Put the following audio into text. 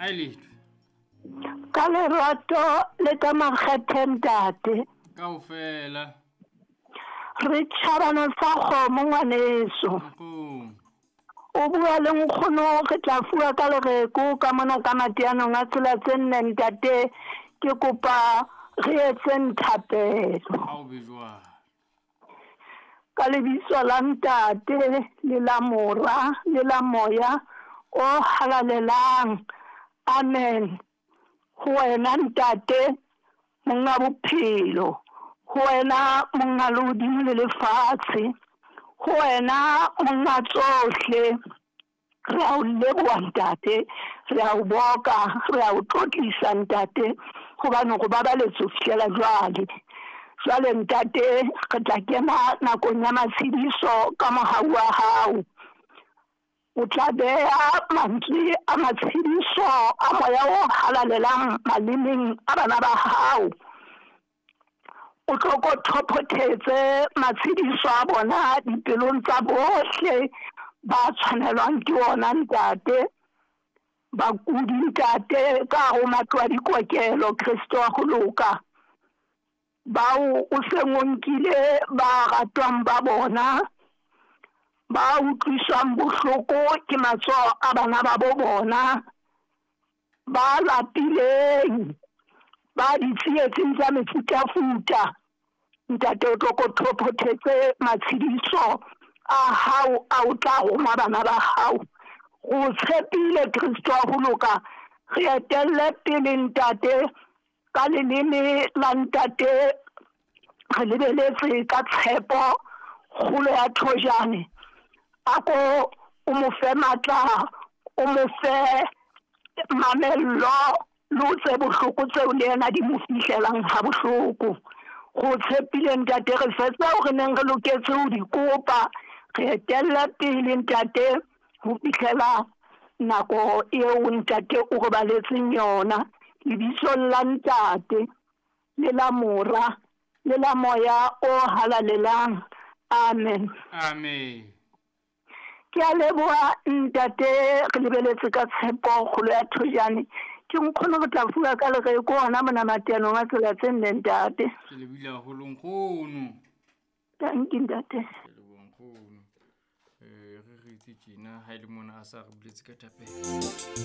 A e letho. Ka lerato le ka makgethe ntate. Kaofela. Re tjhabana sa kgomo ngwaneso. Nkgono. O bua le nkgono re tla fuwa ka lereko ka mona ka mateanong a tsela tse nne ntate ke kopa re etseng thapelo. Ha o be jwalo. Ka lebitso la ntate le la mora le la moya o halalelang. Amen. Ho wena ntate monga bophelo, ho wena monga lehodimo le lefatshe, ho wena monga tsohle. Re a o leboha ntate, re a o boka, re a o tlotlisa ntate, hobane go babaletse ho fihlela jwale. Jwale ntate re tla kena nakong ya matshediso ka mohau wa hao. O tla beha mantswe a matshediso a moya o halalelang malemeng a bana ba hao. O tlo ko thophothetse matshediso a bona dipelong tsa bohle ba tshwanelwang ke ona ntate. Bakudi ntate ka hare ho matlo a dikokelo Kreste wa ho loka. Bao o seng o nkile ba ratwang ba bona, ba utlwiswang bohloko ke matsoho a bana ba bo bona, ba lapileng, ba ditsietsing tsa mefutafuta. Ntate o tlo ko thophothetse matshediso a hao a o tla roma bana ba hao. Go tshepile Kriste wa ho loka, re etelle pele ntate ka leleme la ntate, re lebeletse ka tshepo kgolo ya thojane. A ko o mo fe matla, o mo fe mamello le o tse bohloko tseo le yena di mo fihlelang ha bohloko. Go tshepile ntate, re fe tseo re neng re loketse ho di kopa, re etelle pele ntate ho fihlela nako eo ntate o re baletseng yona. Lebitsong la ntate le la mora le la moya o halalelang. Amen. Amen. Ke a leboha ntate, re lebeletse ka tshepo kgolo ya thojane. Ke nkgono re tla fuwa ka lereko hona mona mateanong a tsela tse nne ntate. Ke lebile haholo nkgono. Thank you ntate. Ke leboha nkgono. Re re itse tjena ha e le mona a sa re buletse ka thapelo.